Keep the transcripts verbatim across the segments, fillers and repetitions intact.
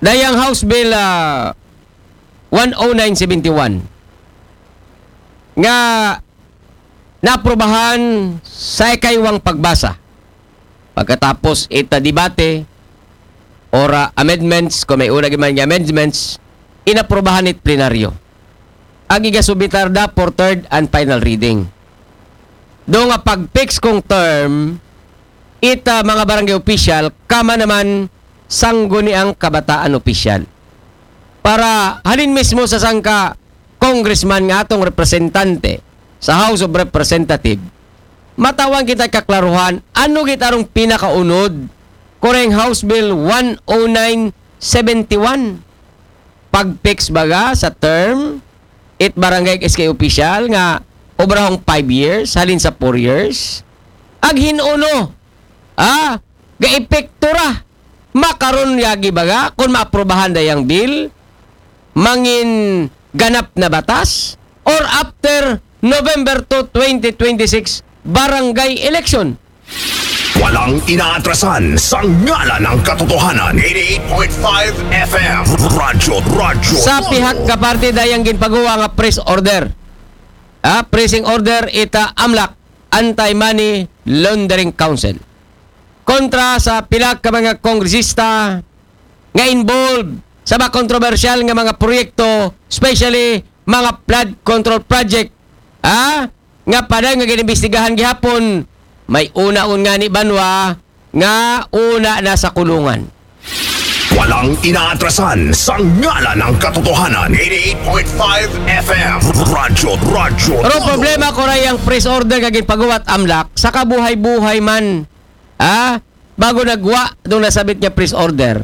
Dayang House Bill ah, one oh nine seventy-one nga naaprubahan sa ikaduhang pagbasa. Pagkatapos ita debate or ah, amendments, kung may una giman nga amendments, inaprubahan it plenaryo. Ag igasubitar da for third and final reading. Do nga pag-fix kong term, ita mga barangay official, kama naman sangguniang kabataan official. Para halin mismo sa sangka congressman nga atong representante sa House of Representative, matawan kita kaklaruhan ano gitarong pinakaunod kureng House Bill one oh nine seventy-one. Pag-fix baga sa term, it barangay S K official nga obrahong five years, halin sa four years. Ag hinuno, ah, ga-epekto ra. Makaron yagi baga, kung maaprubahan dayang bill, mangin ganap na batas, or after November two, twenty twenty-six, barangay election. Walang inaatrasan sa ngalan ng katotohanan. eighty-eight point five F M. Radyo, radyo. Sa pihak ka parte dayang ginpagawa nga press order. Ah, pressing order ita AMLAC, Anti-Money Laundering Council. Kontra sa pila ka mga kongresista nga involved sa mga kontrobersyal nga mga proyekto, especially mga flood control project, ah, nga padayon nga ginimbestigahan gihapon, may una-on nga ni banwa nga una na sa kulungan. Walang inaatrasan sa ngalan ng katotohanan. eighty-eight point five F M. Radyo, radyo. Pero problema ko ra yang press order nga ginpagawa it AMLAC sa kabuhay-buhay man. Ah, bago nagwa itong nasabit nga press order.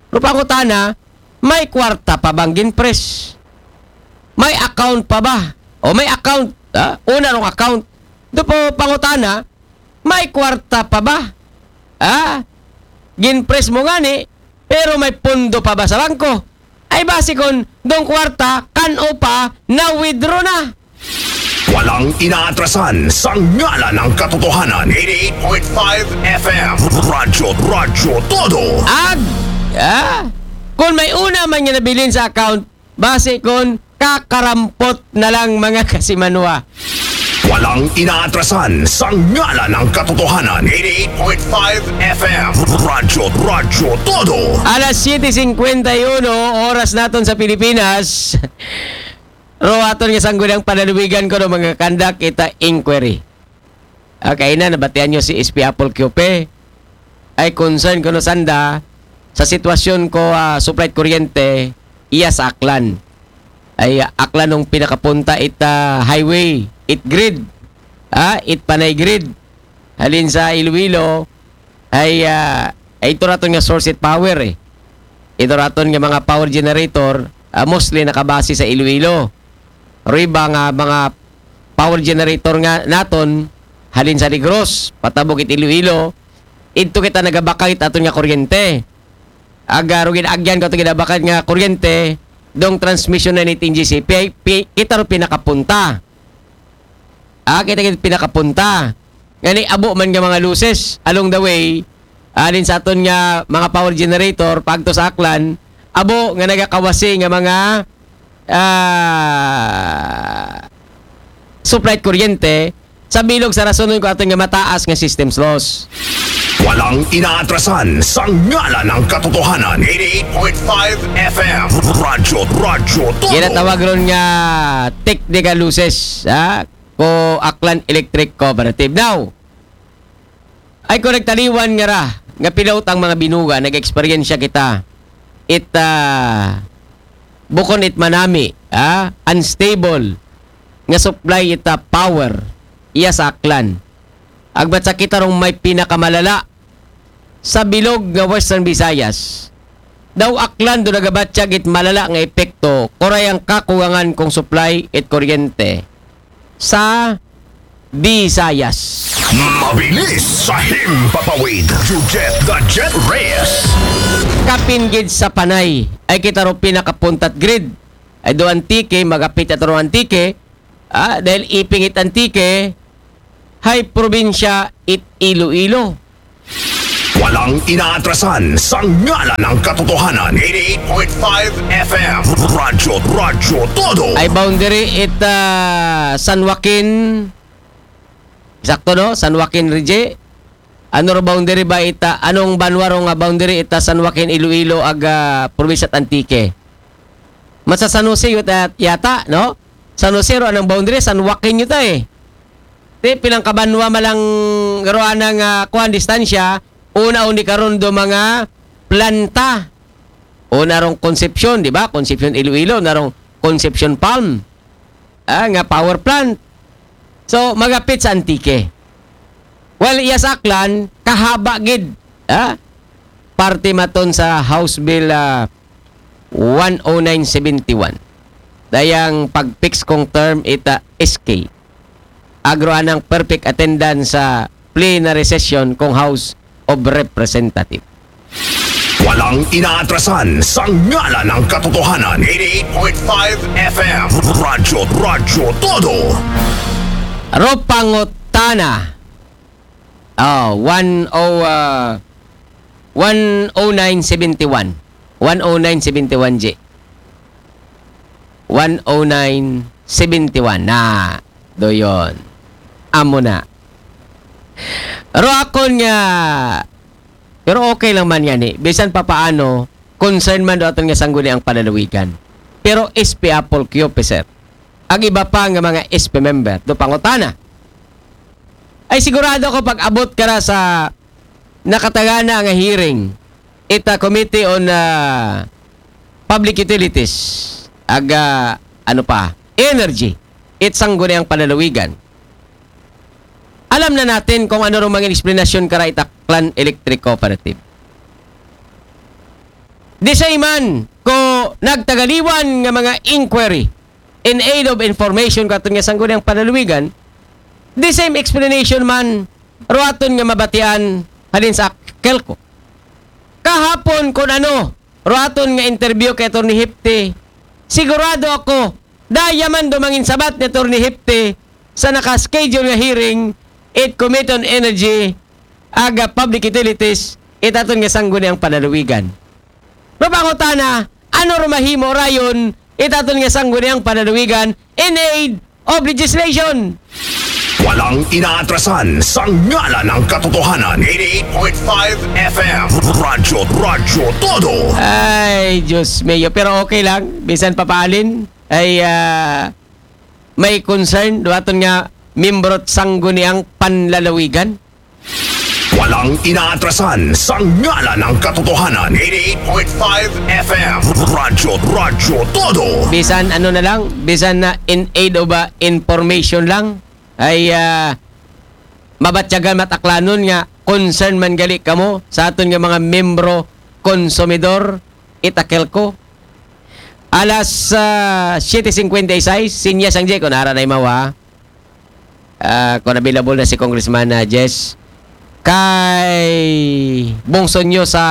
Pero pangutana, may kwarta pa bang ginpress? May account pa ba? O may account, ah? Una rong account. Do po pangutana, may kwarta pa ba? Ah? Ginpress mo ngani, pero may pondo pa ba sa bangko? Ay basi kon dong kwarta, kan-o pa, na-withdraw na. Walang inaatrasan sa ngalan ng katotohanan. eighty-eight point five F M. Radyo, radyo, todo. Ag, ah, kung may una man nga nabilin sa account, basi kon kakarampot na lang mga kasimanwa. Walang inaatrasan sa ngalan ng katotohanan. eighty-eight point five F M. Radyo, radyo, todo. Alas siyete singkwenta y uno, oras naton sa Pilipinas. Ro aton nga sangguniang panaluwigan ko no mga kandak ita inquiry. Okay na, nabatian nyo si S P Apple Q P. Ay concern ko no sanda sa sitwasyon ko ah, supply kuryente iya sa Aklan. Ay ah, Aklan nung pinakapunta ita highway, it grid. Ah, it panay grid. Halin sa Iloilo, ay ah, ay ito raton nga source it power eh. Ito raton nga mga power generator, ah, mostly nakabase sa Iloilo. Riba nga mga power generator nga naton, halin sa Negros, patabok it Iloilo, ito kita nagabakay it aton nga kuryente. Aga rugin agyan ko ito ginabakay nga kuryente, dong transmission na ni T N G C P, pi- kita ro pinakapunta. Ah, kita kita pinakapunta. Ngani abo man nga mga losses along the way, alin sa aton nga mga power generator pagto sa Aklan, abo nga nagakawasi nga mga ah, supply kuryente sa bilog sa rason ko aton nga mataas nga systems loss. Walang inaatrasan sa ngalan ng katotohanan. eighty-eight point five F M. Radyo, radyo, todo. Ginatawag ron nga technical losses, ha? Ko Aklan Electric Cooperative. Now, ay ko nagtaliwan nga ra, nga pilaw ang mga binuga, nag-eksperyensya kita. It, ah, bukon it manami, ha? Unstable nga supply ita power iya sa Aklan. Agbat sa kita rong may pinakamalala sa bilog nga Western Visayas. Daw Aklan do nagabatyag it malala nga epekto, kuray ang kakugangan kong supply it kuryente sa Visayas. Mabilis sa himpapawid. You get the jet race. Kapin gid sa panay ay kita ro pinakapuntat grid. Ay do Antique, magapit at ro Antique. Ah, dahil iping it Antique, hay probinsya it Iloilo. Walang inaatrasan sa ngalan ng katotohanan. Eighty-eight point five F M. Radyo, Radyo Todo. Ay boundary it ah, San Joaquin. Sakto, no? San Joaquin, Rije. Ano ro boundary ba ita? Anong banwa ro nga boundary ita San Joaquin, Iloilo, aga probinsya Antique? Masa San Jose yata, yata, no? San Jose ro anang boundary, San Joaquin yuta eh. Ti pilang kabanwa malang ro anang ah, kuan distansya, una undi karon do mga planta. Una rong Concepcion, di ba? Concepcion Iloilo, na rong Concepcion Palm. Ah, nga power plant. So, magapit sa Antique. Well, iya sa Aklan, kahaba gid. Ah? Parte maton sa House Bill ah, one oh nine seventy-one. Dayang pag-fix kong term ita S K. Agro anang perfect attendance sa plenary session kong House of Representative. Walang inaatrasan sa ngalan ng katotohanan. Eighty-eight point five F M. Radyo, Radyo Todo. Ro pangutana. Oh, one oh, ah, one oh nine seventy-one. One oh nine seventy-one, J. One oh nine seventy-one. Na, do yon. Amo na. Ro akon nga, pero okay lang man yan eh. Bisan papaano, concern man do aton nga sangguniang panlalawigan. Pero S P Apple Q P, sir. Ang iba pa nga mga S P member, do pangutana. Ay sigurado ko pag abot ka na sa nakatagana nga hearing, ita Committee on ah, Public Utilities, aga, ano pa, Energy, it sangguniang panlalawigan. Alam na natin kung ano rong mga explanation kara ita Aklan Electric Cooperative. Di sa iman ko nagtagaliwan nga mga inquiry in aid of information katon nga sangguniang panlalawigan, the same explanation man ro aton nga mabatian halin sa Kelco. Kahapon kun ano ro aton nga interview kay Attorney Hepte, sigurado ako daya man do mangin sabat ni Attorney Hepte sa naka-schedule nga hearing it Committee on Energy aga Public Utilities it aton nga sangguniang panlalawigan. Mapangutana, ano ro mahimo rayon it aton nga sangguniang panlalawigan in aid of legislation? Walang inaatrasan sa ngalan ng katotohanan. Eighty-eight point five F M. Radyo, Radyo Todo. Ay, Diyos mio. Pero okay lang. Bisan papaalin ay ah, may concern do aton nga membro sangguniang panlalawigan. Walang inaatrasan sa ngalan ng katotohanan. Eighty-eight point five F M. Radyo, Radyo Todo. Bisan ano na lang, bisan na in aid of ah, information lang, ay ah, mabatyagan mataklanon nga concern man gali kamo sa aton nga mga membro konsumidor ita Kelco. Alas ah, siyete singkwenta y seis, sinyas ang J, kung nara na imawa. Ah, kung available na si Congressman ah, Jess. Kay bungso nyo sa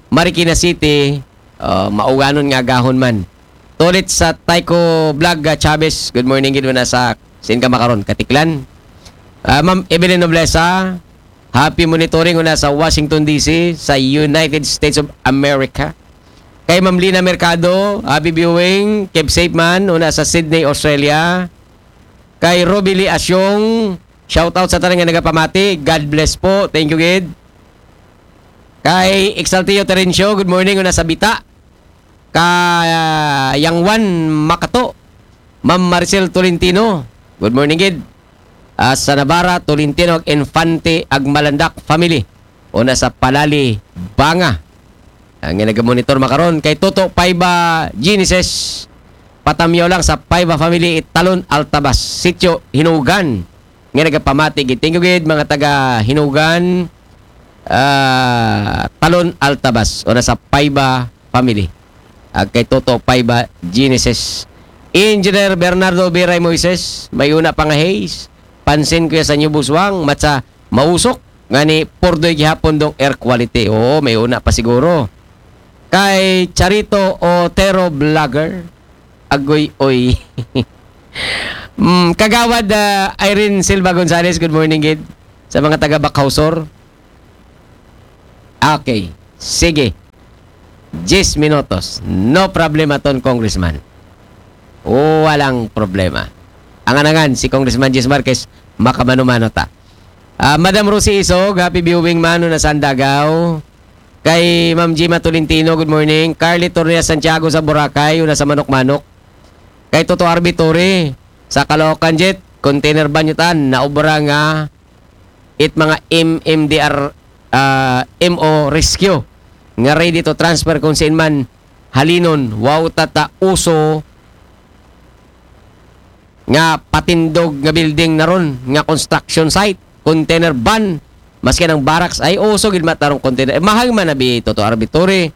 Marikina City, ah, mauganon nga agahon man. Tulit sa Taiko Vlog ah, Chavez, good morning gid una sa sin ka makaron, Katiklan. Ah, Ma'am Evelyn Noblesa, happy monitoring una sa Washington D C sa United States of America. Kay Ma'am Lina Mercado, happy viewing, keep safe man una sa Sydney, Australia. Kay Roby Lee Asyong, shout out sa tanan nga nagapamati. God bless po. Thank you gid. Kay Exaltio Terencio, good morning una sa Bita. Ka ah, Yang Juan Makato, Ma'am Maricel Tolentino, good morning gid. Ah, sa Navarra, Tolentino ag Infante ag Malandak family. Una sa Palali, Banga. Ang nga nagamonitor makaron kay Toto Paiba Genesis. Patamyaw lang sa Paiba family, Talon Altabas, Sitio Hinugan. Nga nagapamati gid. Thank you gid mga taga Hinugan, ah, Talon Altabas, una sa Paiba family. Ag kay Toto Paiba Genesis. Engineer Bernardo Biray Moises, may una pa nga haze. Pansin ko ya sa New Buswang, matsa mausok. Ngani, purdoy gihapon dong air quality. Oo, may una pa siguro. Kay Charito Otero Vlogger, agoy, oy. Mm, Kagawad ah, Irene Silva Gonzalez, good morning gid. Sa mga taga Bacau Sur. Okay. Sige. Diyes minutos. No problema ton, Congressman. Walang problema. Angan-angan, si Congressman Jis Marquez, makamano-mano ta. Ah, Madam Rosie Isog, happy viewing man, una sa Andagaw. Kay Ma'am Gima Tolentino, good morning. Carly Torres Santiago sa Boracay, una sa Manok-Manok. Kay Toto Arbitori, sa Caloocan Jet, container van yutan, naubra nga it mga M M D R, ah, M O rescue nga ready to transfer kung saan man halinon, wow tata uso nga patindog nga building na ron, nga construction site, container van, maski ang barracks ay uso gid matarong container. Eh, mahal man na bi Toto Arbitori.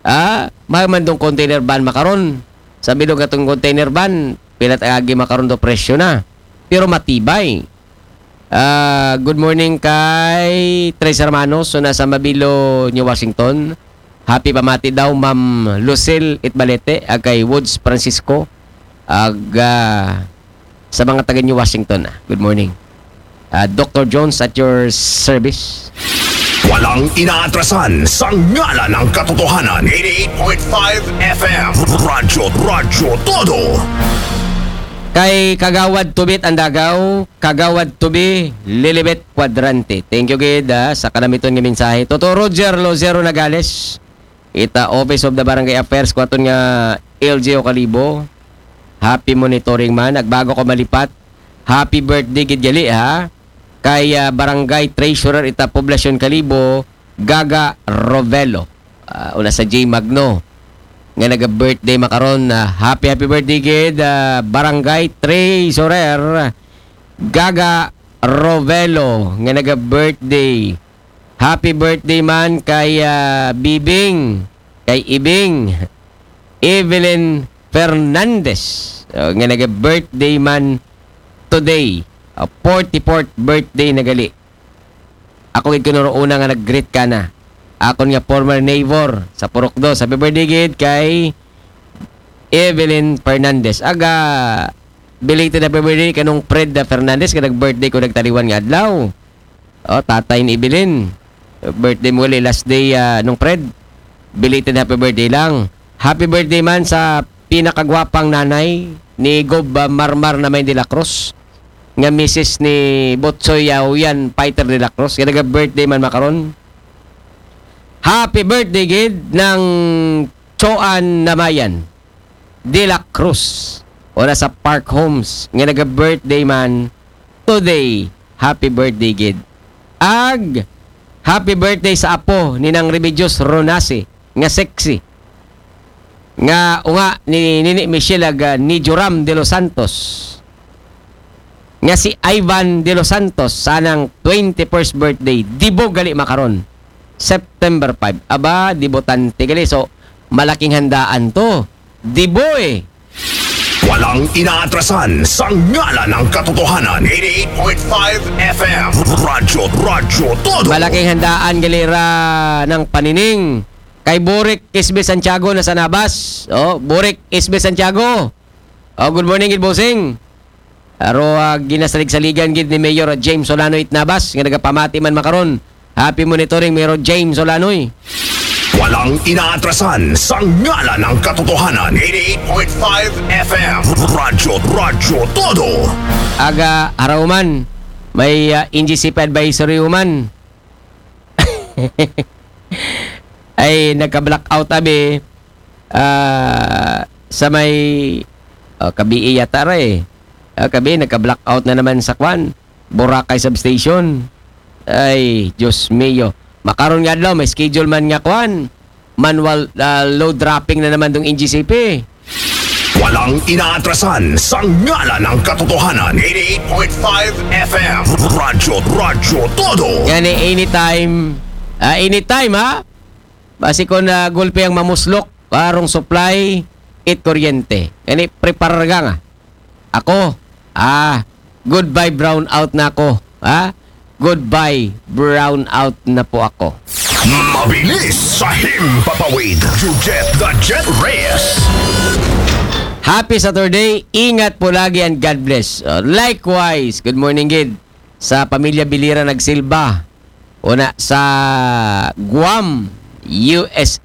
Ah, mahal man dong container van makaron. Sa bilog atong container van, pila ta agi makaron do presyo na. Pero matibay. Ah, good morning kay Tres Hermanos, so nasa Mabilo, New Washington. Happy pamati daw, Ma'am Lucille Itbalete, ag kay Woods Francisco, ag, ah, sa mga taga New Washington. Ah. Good morning. Ah, Doctor Jones at your service. Walang inaatrasan sa ngalan ng katotohanan. Eighty-eight point five F M. Radyo, Radyo Todo. Kay Kagawad Tubit Andagaw, Kagawad Tubi, Lilibet Cuadrante. Thank you gid, ah, sa kanamiton nga mensahe. Toto Roger Lozero Nagales, ita Office of the Barangay Affairs, kuwaton nga L G O Kalibo. Happy monitoring man. Agbago ko malipat, happy birthday gid gali, ha. Kay, ah, Barangay Treasurer ita Poblacion Kalibo, Gaga Rovelo. Ah, una sa J Magno nga naga-birthday makaron. Ah, happy, happy birthday gid, ah, Barangay Treasurer Gaga Rovelo nga naga-birthday. Happy birthday man kay, ah, Bibing, kay Ibing, Evelyn Fernandez, oh, nga naga-birthday man today. Ah, forty-fourth birthday na gali. Ako gid kuno una nga nag-greet kana. Akon nga former neighbor sa Purok Dos. Happy birthday gid kay Evelyn Fernandez. Aga, belated happy birthday kanong Fred Fernandez nga nag-birthday ko nagtaliwan nga adlaw. Oh, tatay ni Evelyn. Birthday mo gali, last day, ah, nung Fred. Belated happy birthday lang. Happy birthday man sa pinakagwapang nanay ni Gob, ah, Marmar na may de la Cruz, nga misis ni Botsoy Yaoyan Fighter de la Cruz. Kaya naga-birthday man makaron. Happy birthday gid ng Choan Namayan de la Cruz. Ora sa Park Homes nga naga-birthday man today. Happy birthday gid. Ag happy birthday sa apo ni Nang Remedios Ronase nga sexy. Nga unga ni Nini Michelle ag, ah, ni Joram de los Santos. Nga si Ivan de los Santos sanang twenty-first birthday. Dibo gali makaron. September five. Aba, debutante gali. So, malaking handaan to. Dibo eh. Walang inaatrasan sa ngalan ng katotohanan. Eighty-eight point five F M. Radyo, Radyo Todo. Malaking handaan gali ra ng panining. Kay Burik Isbe Santiago na sa Nabas. Oh, Burik Isbe Santiago. Oh, good morning, gid bossing. Aro, ah, ginasalig-saligan gid ni Mayor James Solano Itnabas nga nagapamati man makaron. Happy monitoring, Mayor James Solanoy. Walang inaatrasan sa ngalan ng katotohanan. Eighty-eight point five F M. Radyo, Radyo Todo. Aga, haraw man. May, ah, N G C P advisory man. Ay, nagka-blackout abi. Ah, sa may, oh, Kabii yata ra eh. Ah, Kabii, nagka-blackout na naman sa kwan. Boracay Substation. Ay, Diyos mio. Makaron nga adlaw, may schedule man nga kwan. Manual, ah, load dropping na naman dong N G C P. Walang inaatrasan sa ngalan ng katotohanan. Eighty-eight point five F M. Radyo, Radyo Todo. Yan eh, anytime. Ah, anytime, ha? Basi ko na gulpi ang mamuslok, karong supply, it kuryente. Yan eh, preparar ka nga. Ako, ah, goodbye brown out na ako. Ha? Goodbye brown out na po ako. Mabilis sa himpapawid. Jujet the Jet Reyes. Happy Saturday. Ingat po lagi and God bless. Uh, likewise, good morning gid sa pamilya Bilira Nagsilba. Pun sa Guam, U S A.